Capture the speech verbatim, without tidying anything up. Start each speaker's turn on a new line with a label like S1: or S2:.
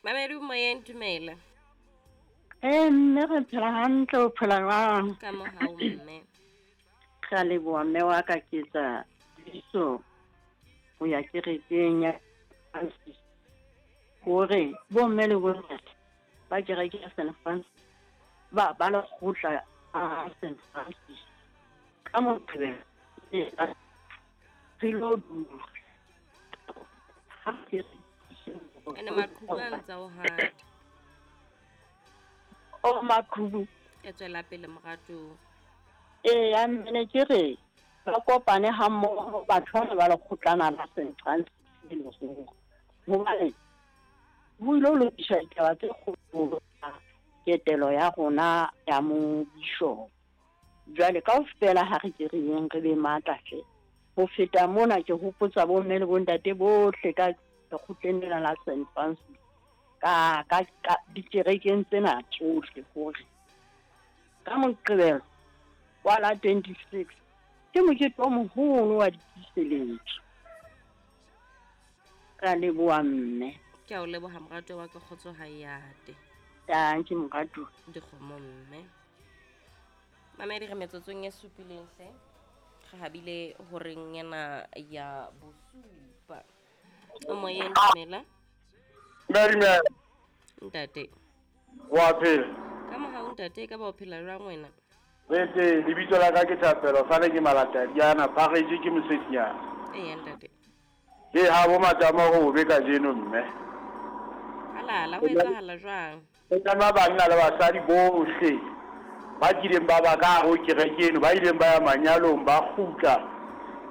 S1: Mamedi moyeng, dumela.
S2: Eh, mme re phela hantle, o phela jwang?
S1: Ka mohau mme.
S2: Re a leboha mme wa ka, ke etsa tsebiso ho ya kerekeng ya Francis hore bomme le bontate ba kereke ya Saint Francis ba ba lekgotla a Saint Francis ka Moqebelo re lo dula.
S1: Ene maqhubu a ntsa o hata.
S2: O maqhubu.
S1: E tswela pele moratuwa.
S2: Eya, mme ke re ba kopane ha mmoho batho bana ba lekgotlana la Saint Francis le hobane ho ilo lokiswa ditaba tse kgolo ketelo ya rona ya mo bishop. Jwale kaofela ha re ke re yeng re be matla hle. Ho feta mona ke hopotsa bomme le bontate bohle ka lekgotleng lena la Saint Francis ka ka ka dikerekeng tsena tsohle hore ka Moqebelo wa la twenty-six ke mokete o moholo wa ditiiseletso. Ka leboha mme.
S1: Ke a o leboha moratuwa wa ka, kgotso ha e ate.
S2: Dankie moratuwa.
S1: Dikgomo mme. Mamedi re metsotsong e supileng hle. Re habile horeng ena ya bosupa. O moyeng, dumela.
S3: Dumela.
S1: Ntate.
S3: Wa phela?
S1: Ka mohau ntate, ka ba o phela jwang wena?
S3: Bete, lebitso la ka ke Thapelo, sale ke Malatadiana, phareje ke Mosedinyana.
S1: Eya ntate.
S3: Ke ha bo matama ho be kajeno mme.
S1: Halala, ho etsahala jwang?
S3: Ho tsamaya banna le basadi bohle ba kileng ba ba ka hare ho kereke eno, ba ileng ba ya manyalong, ba kgutla